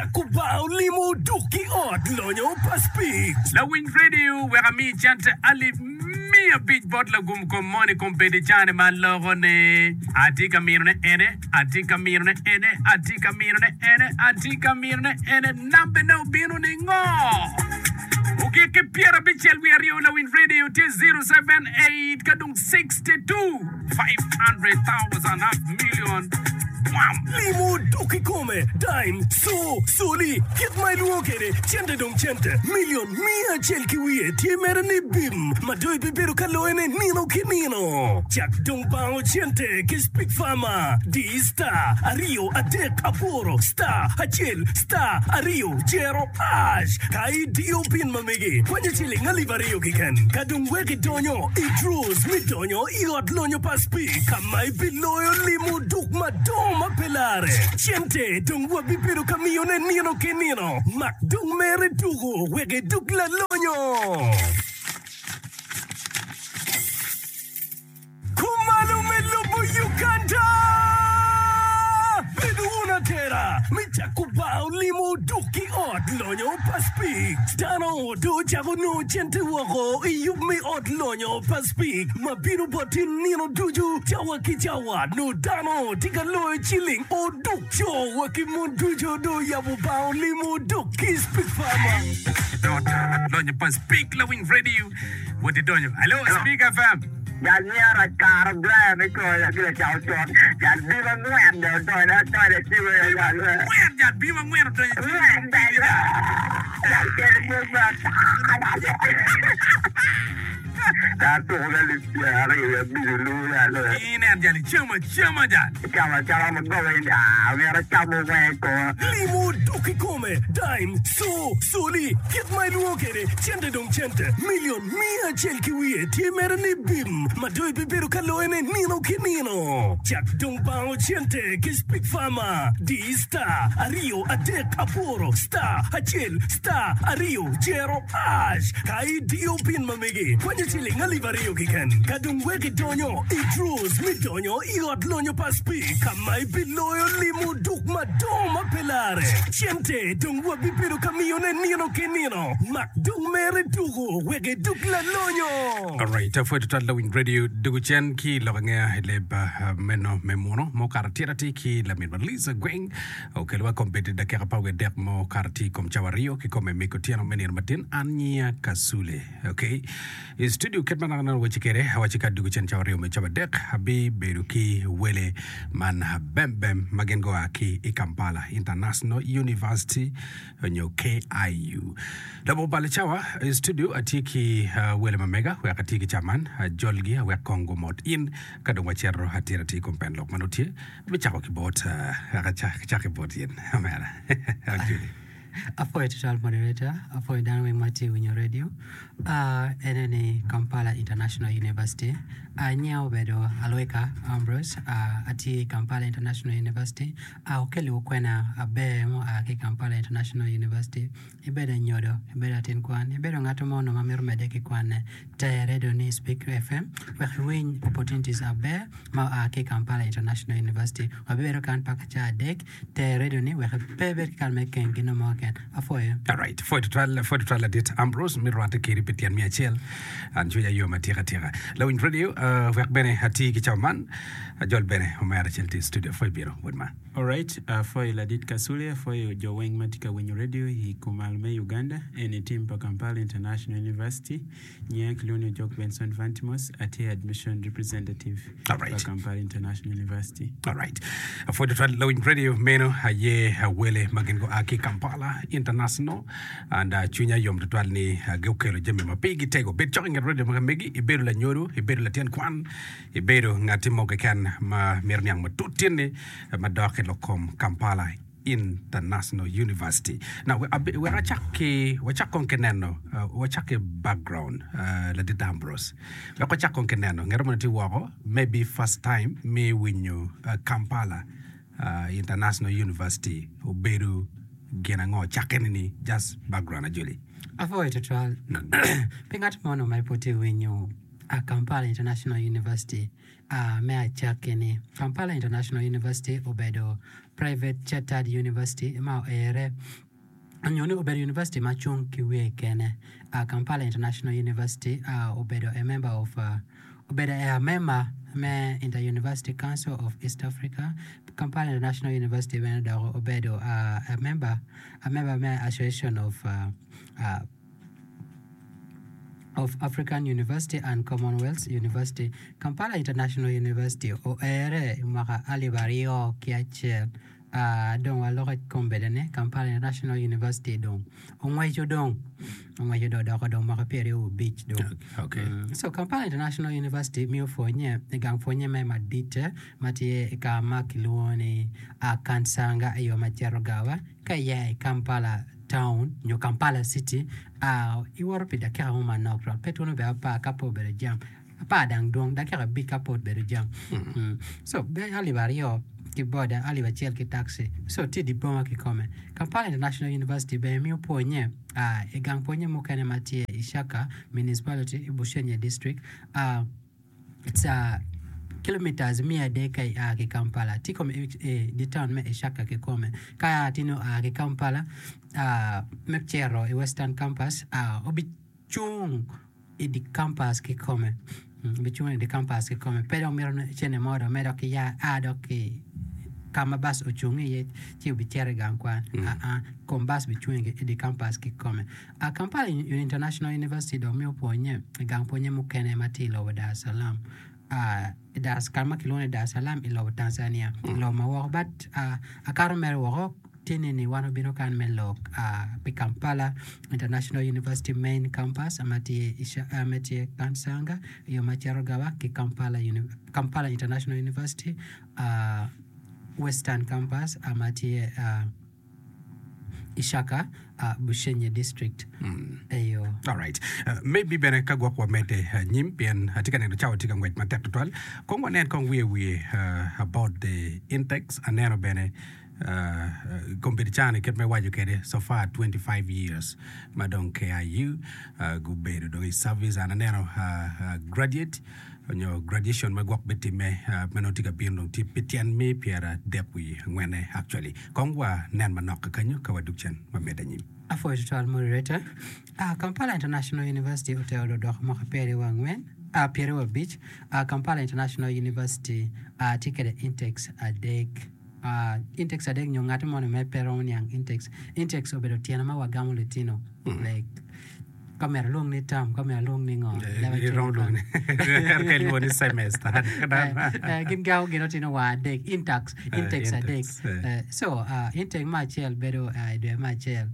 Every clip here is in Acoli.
cako bar olimo duk ki ot lonyo pa Speke. Lawiny radio wek ami cente alip 500 bot lagum kom moni kombeddi cane ma aloko ni atye ka mino ne ene atye ka mino ne ene atye ka mino ne ene atye ka mino ne ene nambe ne obino ni ngo ogik ki 72 lawiny radio tye 078 ka dong 62 500,000 half million bwam. Limo dok kikome, dime, co, coli, kit ma ilwongo kwede, cente dong cente, milion miya acel ki wiye tye mere ni bim ma dong ibibedo ka loyone nino ki nino. Cak dong bango cente ki Speak Farmer, di star aryo adek aboro star acel star aryo jero ash ka idiyo pin ma megi kwanyo ciling alip aryo keken ka dong wek idonyo i draws me donyo I ot lonyo pa Speke ka ma ibiloyo limo duk madongo ma pe larre. Cente dong wabibedo ka miyone nino ki nino. Mak dong mere tuko wek idug lalonyo. Kumalo me lobo Uganda! Bedo wun atera me cako bar limo duk ki ot lonyo pa Speke. Dano dong ocako nongo cente woko i yub me ot lonyo pa Speke ma bino boti nino ducu cawa ki cawa. Nongo dano tye ka loyo ciling oduk co wa ki mon ducu dong oyabo bar limo duk ki Speke Farmer. Ot lonyo pa Speke lawiny radio wot idonyo. Alo Speke FM. Jal myero akaro Brian me coyo ki lacako con. Jal bim angwen dong odonyo adonya ci weyo jal we. Angwen jal bim angwen odonyo ci Angwen jal we. Jal kelo pwony me ata. Jal tuko me alip pyeraryo wiye abic olu jal we. Inen jal icamo acama jal. Icamo acama ma goba in aa myero acam weng i koma. Limo dok kikome, dime, co, coli, kit ma ilwongo kwede, cente dong cente, milion Miya acel ki wiye tye mere ni bim ma dong ibibedo ka loyone nino ki nino. Cak dong bango cente ki Speak Farmer. Di star aryo adek aboro star acel star aryo jero ash ka idiyo pin ma megi kwanyo ciling alip aryo keken. Ka dong wek idonyo i draws me donyo i ot lonyo pa Speak ka ma ibiloyo limo duk madongo ma pe lare. Cente dong wabibedo ka miyone nino ki nino. Mak dong mere tuko wek idug lalonyo. Alright, apwoyo tutwal lawiny radio dugu cen ki lok angeya i leb uh, meno me muno ma okato atir atir ki laminwa Liza Gweng okelowa kombeddi dakika apar wiye adek ma okato atir i kom cawa aryo ki kome mego otyeno me nino matin an nyiya Kasule okay i studio kit ma naka neno weche kede awaci ka dugu cen cawa aryo me cawa adek abibedo ki wele man bembem ma gin gua ki i Kampala International University nyo KIU. Labongo balo cawa, i studio atye ki uh, wele ma mega wek atye ki ca man ajolgi awek kong gumot in ka dong wacito atir atir i kom pen lok ma nongo tye. Abicako ki bot uh, wek acak ki bot in omera. Julie. Apwoyo tutwal moderator, apwoyo dano weng ma tye winyo radio. Uh, ene ni Kampala International University. Uh, nyinga obedo Alweka Ambrose, uh, atye i Kampala International University. A Okeliwu kwena aber ma oa ki i Kampala International University. Ibedo anyodo, ibedo latin kwan, ibedo ngat mo onongo ma mito medde ki kwanne, ter redio ni Speak FM wek iwiny opportunities aber ma oa ki i Kampala International University. Wabibedo kan paka caa adek, ter redio ni wek pe ibed ki kare me keng gin mo keken. Apwoyo. Alright, pwoyo tutwal, pwoyo tutwal ladit Ambrose me rwatte kedi pi tyen me acel. An cwinya yom atika tika. Lawiny radio, uh, wek bene ati ki cawa man. Ajol bene omera acel tye i studio pwoyo bino wod ma. Alright, apwoyo ladit Kasule, apwoyo jo weng ma tye ka winyo radio i kumal me Uganda, eni team pa Kampala International University, nyinga kilwongo ni Ojok Benson Vantimos, atye admission representative pa Alright. Kampala International University. Alright. Apwoyo tutwal lawiny radio meno aye wele ma gin gua ki Kampala International and uh, cwinya yom tutwal ni uh, gukelo jami ma pigi tego. Bed cok i nget radio ma megi, ibedo lanyodo, ibedo latin kwan, Ibedo ngatti mo keken ma mito niang matut tyenni madok i lok kom Kampala International University. Now, wek acak ki, wacak kong ki neno, wacak ki background, Ladit Ambrose. Wek wacak kong ki neno, ngat moni tye woko, maybe first time me winyo Kampala International University obedo gin ango, cakke nini, just background ajoli. Apwoyo tutwal. Pi ngat mo onongo ma pud tye winyo. Kampala International University me acakki-ni. Kampala International University obedo private chartered university ma oere nyo ni obedo university ma cung ki wiye kene. Kampala International University obedo a member of obedo a member me Inter University Council of East Africa. Kampala International University bene dok obedo a member a member me Association of of African University and Commonwealth University. Kampala International University oere i mwaka alip 2001 dong waloko i kom bedone Kampala International University dong ongweco dong ongweco dong odoko dong mwaka 25 dong. Okay. So Kampala International University miyo pwonye i gang pwonye me maditte ma tye i ka ma kilwongo ni Kansanga i yo ma cito Gawa ka iya i Kampala town nyo Kampala city iwoto pi dakika mo manok twal pe twoni obedo apar ka pe obedo jam apar dang dwong dakika abic ka pe obedo jam so alip aryo ki boda alip acel ki taxi so tye i dye boma kikome. Kampala International University bene miyo pwonye i gang pwonye mukene ma tye i Ishaka Municipality i Bushenyi District. It's a kilometers 300 ka ia ki Kampala. Tye kome i dye taun me Ishaka kikome. Ka tye nongo oa ki Kampala me cito i Western Campus, obicung i dye campus kikome. Obicung i dye campus kikome. Pe dong mito cente mo dong me dok ki ya a dok ki ka ma bac ocung iye ci obicito i gang kwan. Aa, kom bac bicung i dye campus kikome. Kampala International University dong miyo pwonye i gang pwonye mukene ma tye i lobo Dar es Salaam, ka ma kilwongo ni Dar es Salaam i lobo Tanzania, i lobo ma woko. But akato mere woko tye ni ni wan obino kan me lok pi Kampala International University Main Campus ma tye ma tye Kansanga i yo ma cito Gaba ki Kampala International University Western Campus ma tye Ishaka, Bushenyi District. Eyo. Alright. Maybe bene ka gwok wamedde anyim pien atye ka neno cawa tye ka ngwec matek tutwal. Kong wanen kong wiye wiye about the intakes. Aneno bene kombeddi cani kit ma iwaco kwede so far 25 years ma dong KIU gubedo dong i service and aneno graduate nyo graduation ma gwok bitimme ma nongo tye ka bino dong tye pi tyen me pyeradek wiye angwenne actually. Kong wa nen manok kakanyo ka wadug cen wamedde anyim. Apwoyo tutwal moderator. Ah, Kampala International University otero dodok mwaka pyeraryo angwen, ah, pyeraryo abic. Ah, Kampala International University ah, tye kwede intakes adek. Ah, intakes adek nyo ngati moni ma pe romo niang intakes. Intakes obedo tyene ma wagamo litino like Ka myero alwong ni term, ka myero alwong ni ngo. Leb acel Iromo lwongo ni ka ilwongo ni semester. Gin gamo gin otino wa adek, intakes, intakes adek. Intakes, eh. So, intake me acel bedo i dwe me acel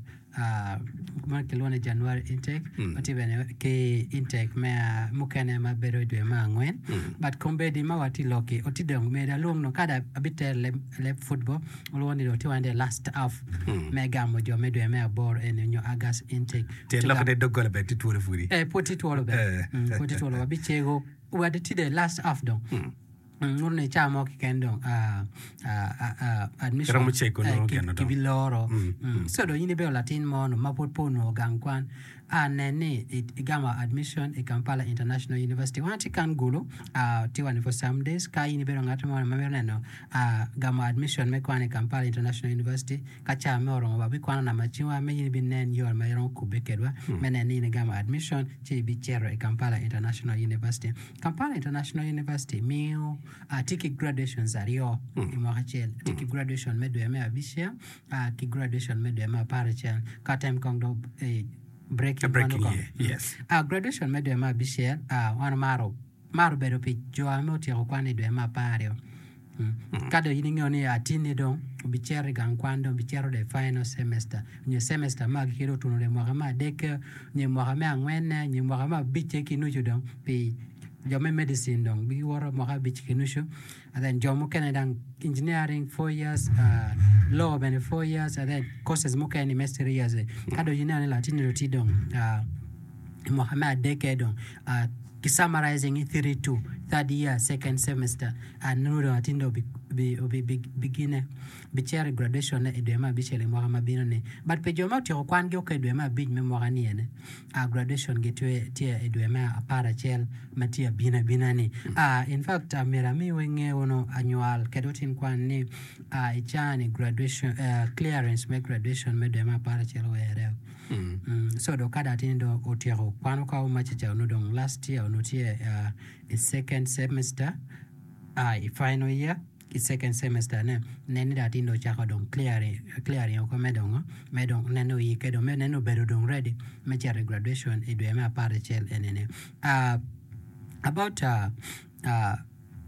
ma kilwongo ni January intake, watye bene ki intake me mukene ma bedo i dwe me angwen. But kombeddi ma watye lok-ki, otye dong myero alwong nongo kadi abitero leb leb football, olwongo ni dong tye wa ni the last half me gamo jo me dwe me aboro eni nyo August intake. Tyen lok ni doggola bene tye twolo pudi. Eh, pud tye twolo bene. Mm, pud tye twolo. Wabicego. Wa tye the last half dong. Mm, nguto ni ca mo keken dong ah, ah, ah, ah, admission Iromo cego eh, nongo ki- geno dong. kibiloro. Mm. So dong in ibedo latin mo no ma pud pe onongo gang kwan. A Nen ni igamo admission i Kampala International University. Wan atye kan Gulu, tye wa ni for some days. Ka in ibedo ngat mo ma mito neno gamo admission me kwan i Kampala International University, ka ca me oromo wabikwano namba cingwa me in ibinen yo ma iromo kubbe kedwa me neno ni in igamo admission ci ibicito i Kampala International University. Kampala International University miyo tye ki graduations aryo i mwaka acel. Tye ki graduation me dwe me abicel ki graduation me dwe me aparacel ka tem kong dong breaking Breaking year, yes. Graduation me dwe me abicel wan omaro maro bedo pi jo ma otyeko kwan i dwe me apario. Ka dong in ingeyo ni atinni dong obicito i gang kwan dong obicito the final semester nyo semester me agikki dong otuno dong i mwaka me adekke nyo i mwaka me angwenne nyo i mwaka me abicce ki nucu dong pi jo me medicine dong giwoto mwaka abic ki nucu. And then jo mukene dang engineering 4 years, law bene 4 years, and then courses mukene me 3 years. Ka dong ineno ni latinni dong tye dong i mwaka me adekke dong ki summarizing i 3-2, third year, second semester, nongo dong latinni dong obi. obi obi bigine bicito i graduation ne i dwe me abicel i mwaka ma bino ni but pi jo ma otyeko kwan gi oke i dwe me abic me mwaka ni ene graduation gi tye tye i dwe me aparacel ma tye abino abina ni in fact myero ami weng nge wunu anywal kede otin kwan ni i caa ni graduation clearance me graduation me dwe me aparacel owere so dong ka dong atin dong otyeko kwano ka omaca ca onongo dong last year onongo tye i second semester i final year i second semester ne nen ni dong atin dong ocako dong clearing clearing oko me dongo me dong neno oyikke dong me neno obedo dong ready me cito i graduation i dwe me aparacel enini about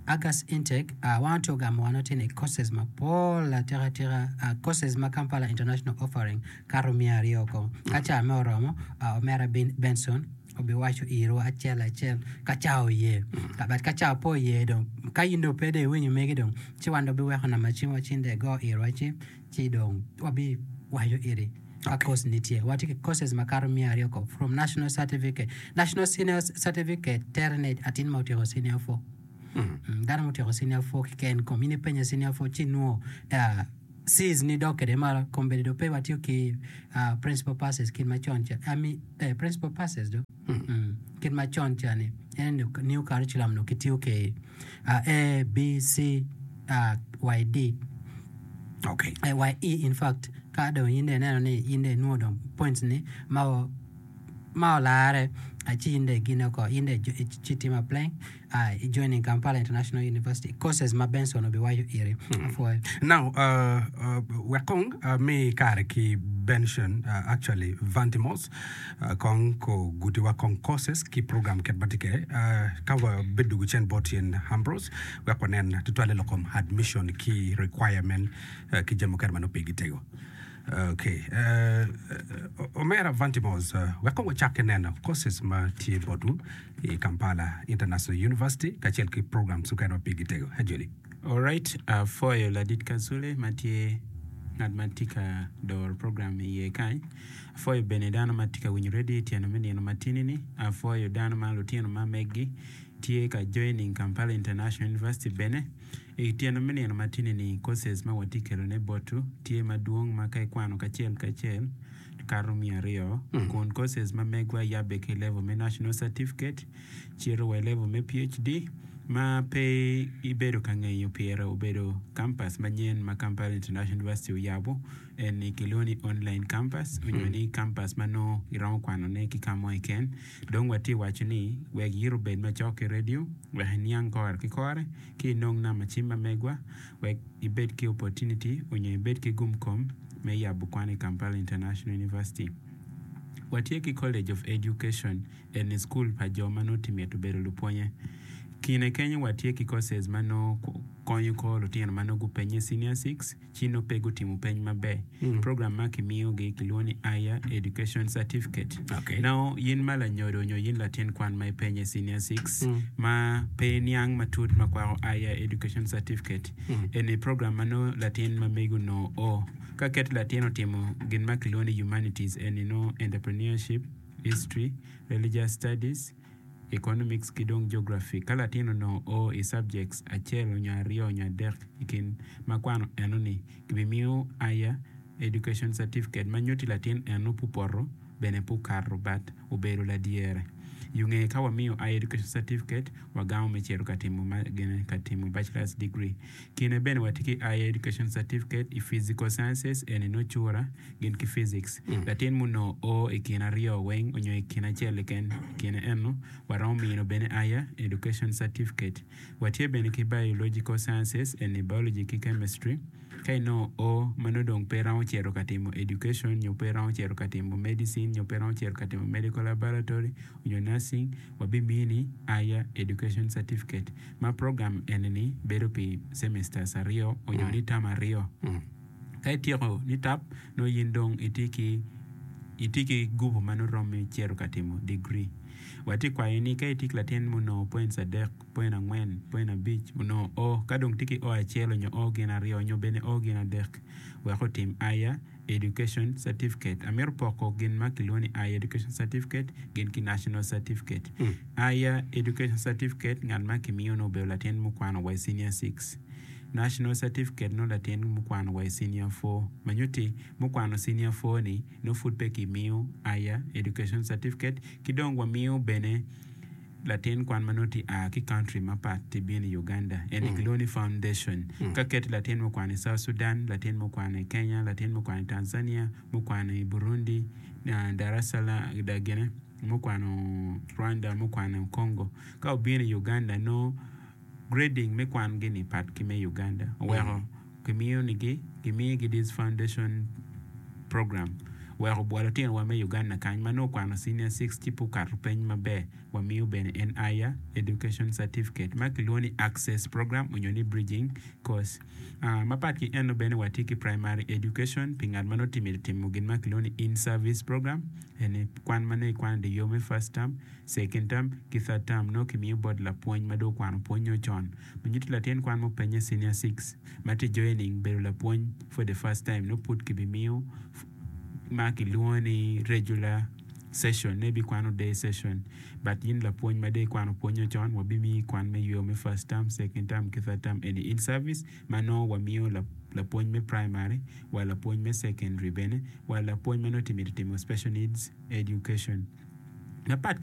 August intake wan watye ogamo wan watye ni courses mapol atika atika courses ma Kampala International offering kato miya aryo ko ka ca me oromo omera Benson obiwaco irwa acel acel ka ca oye but ka ca pe oye dong ka in dong pe dong iwinyo megi dong ci wan dong wabiweko namba cim wa cin dong igo irwa ci dong wabiwaco iri ka course ni tye. Watye ki courses makato 200 ko from national certificate, national senior certificate tere ni atin ma otyeko senior four. Dano ma otyeko senior four keken kom in ipenye senior four ci inwongo C's ni dok kwede malo kombeddi dong pe watiyo ki principal passes kit macon ca I mean principal passes do kit macon ca ni en ni new curriculum dong kitiyo ki A, B, C, Y, D Okay. Y, E in fact ka dong in dong ineno ni in dong inwongo dong points ni ma ma olare ci in dong igine oko in dong ci itimo applying i joining Kampala International University courses ma Benson obiwaco iri. Apwoyo. Now, wek kong ami kare ki Benson, actually Vantimos, kong ko gutiwa kong courses ki program kit ma tye kwede. Ka wabidugo cen bot in Ambrose, wek wanen tutwalle lok kom admission ki requirement ki jami mukene ma nongo pigi tego. Okay, omera Vantimos, wek kong wacak ki neno courses ma tye botwu i Kampala International University kacel ki programs mukene ma pigi tego. Ajoli. Alright, apwoyo ladit Kasule ma tye ngat ma tye ka doro program i iye kany. Apwoyo bene dano ma tye ka winyo radio i tyeno me nino matini-ni. Apwoyo dano ma lutino ma meggi tye ka joining Kampala International University bene. I tyeno me nino matini-ni, courses ma watye kelone botwu tye madwong ma ka ikwano kacel kacel kato 200, kun courses ma megwa yabbe ki i level me National Certificate cito wa i level me PhD ma pe ibedo ka ngeyo pire obedo campus manyen ma Kampala International University oyabo eni kilwongo ni online campus onyo ni campus ma nongo iromo kwanone ki ka mo keken. Dong watye waco ni wek yito obed macok ki radio wek iniang kore ki kore ki inong namba cim ma megwa wek ibed ki opportunity onyo ibed ki gum kom me yabo kwan i Kampala International University. Watye ki College of Education eni school pa jo ma nongo tye mito bedo lupwonye. Kine kenyo watye ki courses ma nongo konyo kor lutino ma nongo gupenye senior six ci nongo pe gutimo peny maber. Program ma kimiyogi kilwongo ni Higher Education Certificate. Okay. Nongo in ma lanyodo nyo in latin kwan ma ipenye senior six ma pe iniang matut ma kwako Higher Education Certificate, eni program ma nongo latin ma megi onongo o. Ka ket latin otimo gin ma kilwongo ni humanities eni nongo entrepreneurship, history, religious studies, Economics ki dong Geography. Ka latin onongo o i subjects acel onyo aryo onyo adek i kin ma kwano eno ni, kibimiyo Higher Education Certificate ma nyutti latin eno pupoto bene pukato but obedo ladyere. Yunge ka wamiyo Higher Education Certificate, wagamo me cito ka timo ma gine ka timo Bachelor's Degree. Kine bene watye ki Higher Education Certificate i Physical Sciences eni nongo cura gin ki physics. Latin munongo o i kin aryo weng onyo i kin acel keken i kine eno waromo mino bene Higher Education Certificate. Watye bene ki Biological Sciences eni Biology ki Chemistry. Ka inongo o ma nongo dong pe iromo cito ka timo education nyo pe iromo cito ka timo medicine nyo pe iromo cito ka timo medical laboratory nyo nursing wabimini Higher Education Certificate ma program eni-ni bedo pi semesters aryo onyo ni term aryo. Ka ityeko ni tap, nongo in dong itye ki itye ki gupu ma nongo romi cito ka timo digri. Watye kwayo ni ka itye ki latin ma onongo points adek, point angwen, point abic, onongo o, ka dong tye ki o acel onyo o gin aryo onyo bene o gin adek wek otim Higher Education Certificate. Amito poko gin ma kilwongo ni Higher Education Certificate gin ki National Certificate. Higher Education Certificate ngat ma kimiyo nongo obedo latin mukwano wa i senior six. National Certificate nongo latin mukwano wa i Senior 4 ma nyutti mukwano Senior 4 ni nongo pud pe kimiyo Higher Education Certificate ki dong wamiyo bene latin kwan ma nongo tye a ki country mapat tye bino i Uganda eni kilwongo ni foundation ka keti latin mukwano i South Sudan, latin mukwano i Kenya, latin mukwano i Tanzania, mukwano i Burundi, Darasala gine mukwano Rwanda, mukwano Congo ka obino i Uganda nongo grading me kwan gi ni pat ki me Uganda oweko kimiyo nigi gimiyo gi this foundation program weko bwa lutino wa me Uganda kany ma nongo okwano senior six ci pe okato peny maber wamiyo bene en higher education certificate ma kilwongo ni access program onyo ni bridging course. Mapat ki eno bene watye ki primary education pi ngat ma nongo tye mito timo gin ma kilwongo ni in service program eni kwan ma nongo ikwano i dye yo me first term, second term ki third term nongo kimiyo bot lapwony ma dong okwano pwonyo con. Ma nyuto latin kwan mupenye senior six ma tye joining bedo lapwony for the first time nongo pud kibimiyo ma kilwongo ni regular session nongo ibikwano day session but in lapwony ma dong ikwano pwonyo con wabimiyi kwan me yo me first term, second term ki third term eni in service ma nongo wamiyo lapwony me primary wa lapwony me secondary bene wa lapwony ma nongo tye mito timo special needs education. Mapat.